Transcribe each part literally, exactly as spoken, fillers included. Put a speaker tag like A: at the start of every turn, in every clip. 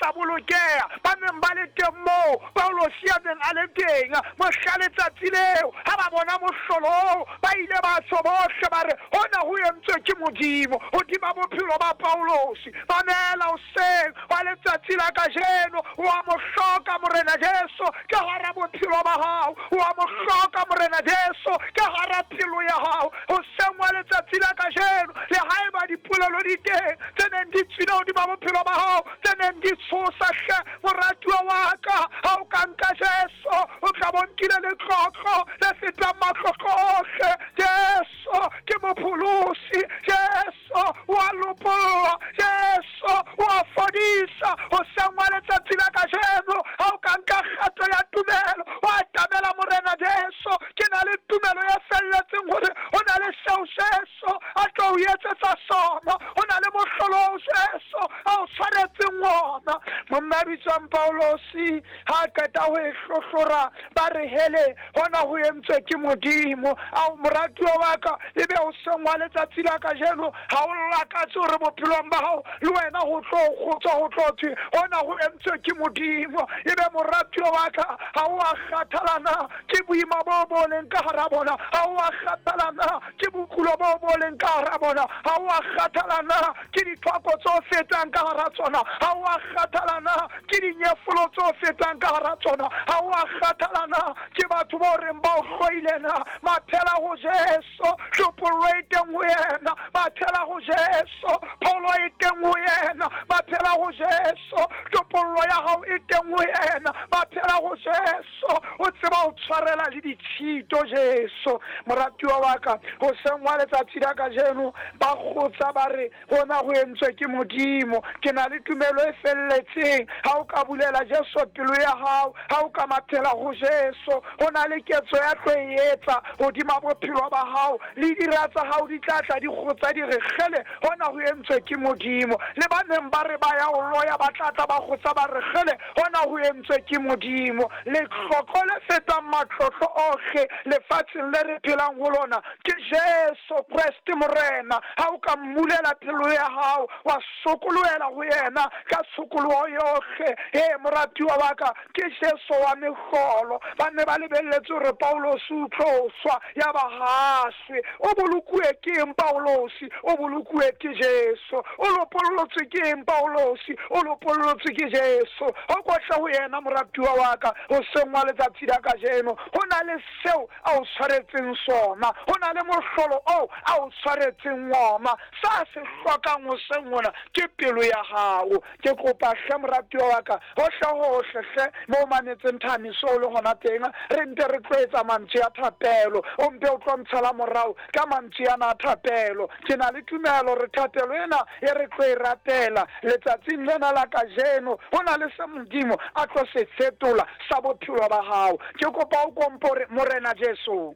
A: tsa bolokeha ba neng ba le teng moo Paulosi a neng a le teng. Mohla letsatsi leo ha ba bona mohlolo ba ile ba tsho bohle ba re hona ho entswe ke Modimo hodima bophelo ba Paulosi. Mamela hoseng wa letsatsi la kajeno, wa mo hloka Morena Jesu ka hara bophelo ba hao, wa mo hloka Morena Jesu ka hara pelo ya hao. Hoseng wa letsatsi la kajeno, le haeba dipolelo di teng tse neng di tswile hodima bophelo ba hao, tse neng di tshosa hle moratuwa wa ka, ha o ka nka Jesu o tla bo nkile letlotlo le fetang matlotlo ohle. Jesu ke mopholosi, Jesu wa lopolla, Jesu wa fodisa. Hoseng wa letsatsi la kajeno, ha o ka nka kgato ya tumelo wa atamela Morena Jesu, ke na le tumelo e felletseng hore ho na le seo Jesu a tlo o etsetsa sona, ho na le mohlolo oo Jesu a o tshwaretseng ona. Monna a bitswang Paulosi ha a qeta ho e hlohlora ba re hele hona ho entswe ke Modimo. Ao moratuwa wa ka, ebe hoseng wa letsatsi la kajeno ha o lakatse hore bophelong ba hao le wena ho tlo kgotswa ho tlo thwe hona ho entswe ke Modimo. Ebe moratuwa wa ka ha o a kgathala na ke boima bo bo leng ka hara bona, ha o a kgathala na ke bokulo bo bo leng ka hara bona, ha o a kgathala na ke dithwako tse fetang ka hara tsona, ha o a kgathala na ke dinyefolo tse fetang ka hara tsona, ha o a kgathala na ke batho bo reng ba o hloile na. Mathela ho Jesu, hlopollo e teng ho yena. Mathela ho Jesu, pholo e teng ho yena. Mathela ho Jesu, hlopollo ya hao e teng ho yena. Mathela ho Jesu, o tseba ho tshwarela le ditshito Jesu. Moratuwa wa ka, hoseng wa letsatsi la kajeno ba kgotsa ba re hona ho entswe ke Modimo. Ke na le tumelo e felletseng ha o ka bulela Jesu pelo ya hao, ha o ka mathela ho Jesu, ho na le ketso ya tlo e etsa hodima bophelo ba hao, le dira tsa hao di tla tla di kgotsa di re kgele hona ho entswe ke Modimo. Le ba neng ba re ba ya o loya ba tla tla ba kgotsa ba re kgele hona ho entswe ke Modimo. Letlotlo le fetang matlotlo ohle lefatsheng le re phelang ho lona ke Jesu Kreste Morena. Ha o ka mmulela pelo ya hao wa sokolohela ho yena ka tshokoloho yohle, he moratuwa wa ka, ke Jesu wa mehlolo. Ba ne ba lebelletse hore Paulosi o tlo swa, ya ba ha shwe. O bolokuwe ke eng Paulosi? O bolokuwe ke Jesu. O lopollotse ke eng Paulosi? O lopollotse ke Jesu. Ho kotla ho yena moratuwa wa ka hoseng wa letsatsi la kajeno, ho na le seo a o tshwaretseng sona, ho na le mohlolo oo a o tshwaretseng ona. Sa se hlokang hoseng hona ke pelo ya hao. Ke kopa hle moratuwa wa ka, hohle hohle hle mo o mametseng thamiso o le hona teng, re nte re tlo etsa mantswe a thapelo. O mpe o tlo ntshala morao ka mantswe ana a thapelo. Ke na le tumelo re thapelo ena e re tlo e rapela letsatsing lena la kajeno, ho na le se Modimo a tlo se fetola sa bophelo ba hao. Ke kopa o kompore Morena Jesu,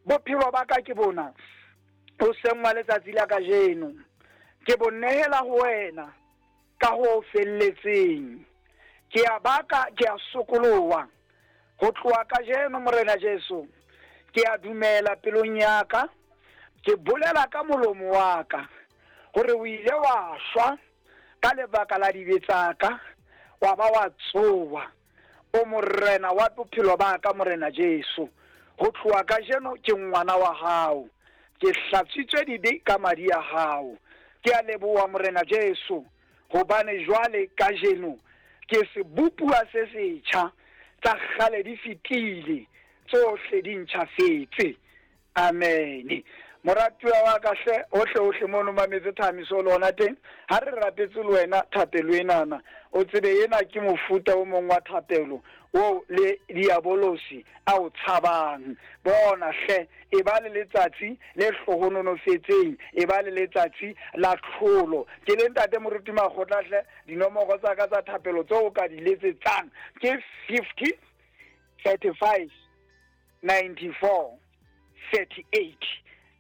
A: bophelo ba ka ke bona hoseng wa letsatsi la kajeno, ke bo nehela ho wena ka ho felletseng. Ke a baka, ke a sokoloha ho tloha kajeno Morena Jesu. Ke a dumela pelong ya ka, ke bolela ka molomo wa ka hore o ile wa shwa ka lebaka la dibe tsa ka, wa ba wa tsoha. O Morena wa bophelo ba ka Morena Jesu, ho tloha kajeno ke ngwana wa hao, ke hlatswitswe dibe ka madi a hao. Ke a leboha Morena Jesu, hobane jwale kajeno ke sebopuwa se setjha, tsa kgale di fetile, tsohle di ntjhafetse. Amen. Moratuwa wa ka hle, hohle hohle mono mametse thamiso le hona teng, ha re rapetse le wena thapelo enana, o tsebe ena ke mofuta o mong wa thapelo o le diabolosi a o tshabang. Bona hle, e ba le letsatsi le hlohononofetseng, e ba le letsatsi la tlholo. Ke le ntate Moruti Makgotla hle, dinomoro tsa ka tsa thapelo tseo o ka di letsetsang ke fifty thirty-five ninety-four thirty-eight.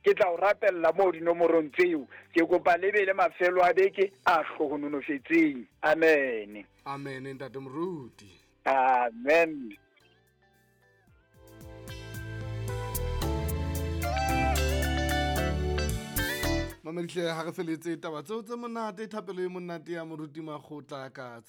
A: Ke tla o rapella moo dinomorong tseo. Ke kopa le be le mafelo a beke a hlohononofetseng. Amen.
B: Amen ntate Moruti.
A: Amen.
B: Mamedihle ha re feletse taba tseo tse monate, thapelo e monate ya Moruti Makgotla ka